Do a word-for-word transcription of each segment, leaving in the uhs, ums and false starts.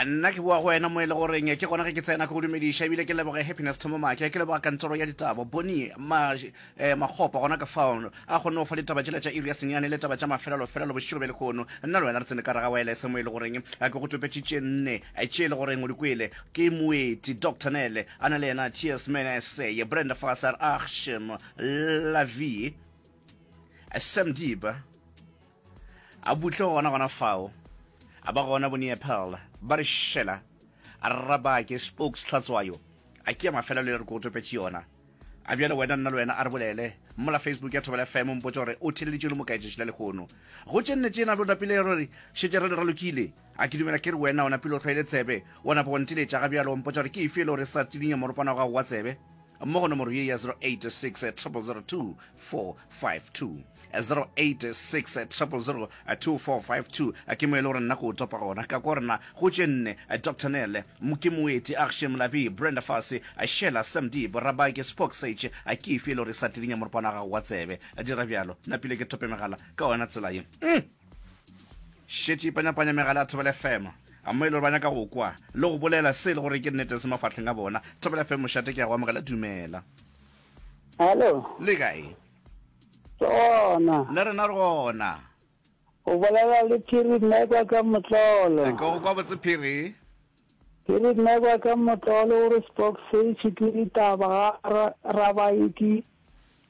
Nna ke boa go wena mo e le goreng ke gona ge ke tsena ke go dumediša ebile ke leboge Happiness Thomomake, ke leboga kantoro ya ditabo Bonnie Ma, eh, Makgopa gona ka fao a kgonne go fa ditaba tšela tša iri ya senyane le taba tša mafelelo-felelo bošego bja lehono. Nna le wena re tsene ka gare ga wireless mo e le goreng ke go topetše tše nne tše e le goreng o di kwele ke moeti Doctor Nele a na le yena Tears Menese, Brenda Fasser, Achim Lavie, Sam Deeb. A butle gona gona fao, a ba gona boNeapel ba re šela, a rabake spokes tlhatswayo, a ke ya mafelelo le re ko topetše yona. A bjale wena nna le wena a re bolele mola Facebook ya Thobela F M mpotše gore o theleditše le mo kae tšatši la lehono. Go tše nne tšena lo napile re šetše re le ralokile. A ke dumela ke re wena o napile o hlwaile tsebe, wa napa wa nteletša ga bjalo wa mpotša gore ke efe e le gore sa tidinya moropana wa gago wa tsebe. Mo go nomoro ye ya zero eight six triple zero two four five two, zero eight six triple zero two four five two, ke mo e le gore nna ke o topa gona. Ka kwa rena go tše nne, Doctor Nele, ke Moeti, Akshay Mlavi, Brenda Fassie, Sheila Samdi, Borabake, Spock Sage, ke efe e le gore e sa tidinya moropana wa gago wa tsebe? Dira bjalo, napile ke tope megala ka yona tsela ye. Mm. Šetše ipanyapanya megala ya Thobela F M, a mo e le gore ba nyaka go kwa le go bolela se e le gore ke nnete se mafahleng a bona. Thobela F M, mošate, ke a go amogela, dumela. Hallo. Le kae? Re gona. Le rena re gona. O bolela le Phiri Mmekwa ka Motlolo. Ke go kwa botse Phiri. Phiri Mmekwa ka Motlolo o re Spock Sage ke ditaba ga Rabaiki.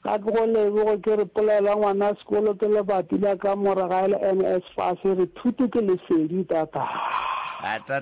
Ga ke go leboge ke re polelo ya ngwana sekolo ke lebati la kamora ga e le N S fase re thuto ke lesedi tata. Tata.